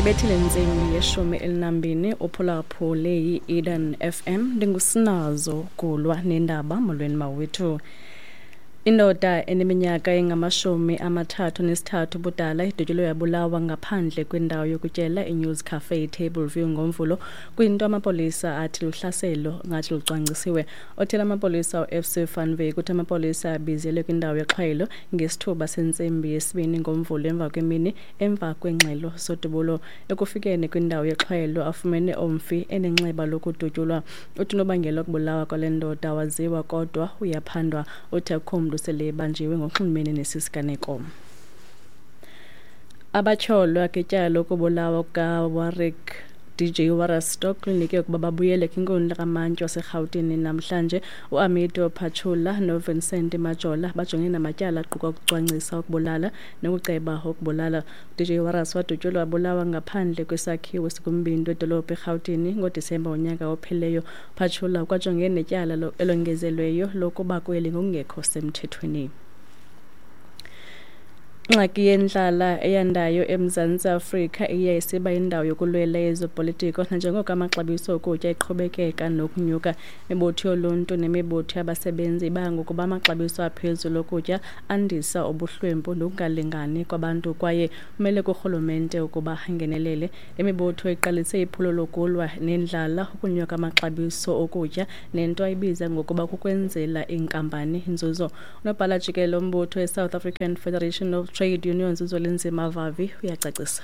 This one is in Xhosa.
Ibethile intsimbi yeshumi elinambini, uphulaphule yi-Eden FM. Ndingusinazo Gulwa nendaba. Molweni mawethu. Indoda eneminyaka engama-33 ubudala idutyulwe yabulawa ngaphandle kwendawo yokutyela iNews Cafe Table View ngoMvulo, kwinto amapolisa athi luhlaselo ngathi lucwangcisiwe. Othela amapolisa uFC van Wyk uthi amapolisa abizelwe kwindawo yexhwayelo ngesithuba sentsimbi yesibini ngoMvulo emva kwemini emva kwengxelo zodubulo. Ekufikeni kwindawo yexhwayelo afumene umfi enenxeba lokudutyulwa. Uthi unobangela wokubulawa kwale ndoda waziwa kodwa uyaphandwa. Uthi akukho mntu sele ebanjiwe ngokunxulumene nesi siganeko. Abatyholwa ngetyala lokubulawa kukaWarwick DJ Warras kulindeleke ukuba babuyele kwinkundla kamantyi waseRhawutini namhlanje. UAmido Pachula noVincent Majola bajongene namatyala aquka ukucwangcisa ukubulala nokuceba ukubulala. DJ Warras wadutyulwa wabulawa ngaphandle kwesakhiwo esikumbindi wedolophu eRhawutini ngoDisemba wonyaka ophelileyo. Pachula ukwajongene netyala elongezelweyo lokuba kweli ngokungekho semthethweni. Ingxaki yendlala eyandayo eMzantsi Afrika iye isiba yindawo yokulwela yezopolitiko nanjengoko amaxabiso okutya eqhubekeka nokunyuka. Imibutho yoluntu nemibutho yabasebenzi ibanga ukuba amaxabiso aphezulu okutya andisa ubuhlwempu nokungalingani kwabantu kwaye kumele kurhulumente ukuba angenelele. Le mibutho iqalise iphulo lokulwa nendlala, ukunyuka amaxabiso okutya nento ayibiza ngokuba kukwenzela iinkampani inzuzo. Unobhala jikelele wombutho iSouth African Federation of Trade Unions uZwelinzima Vavi uyacacisa.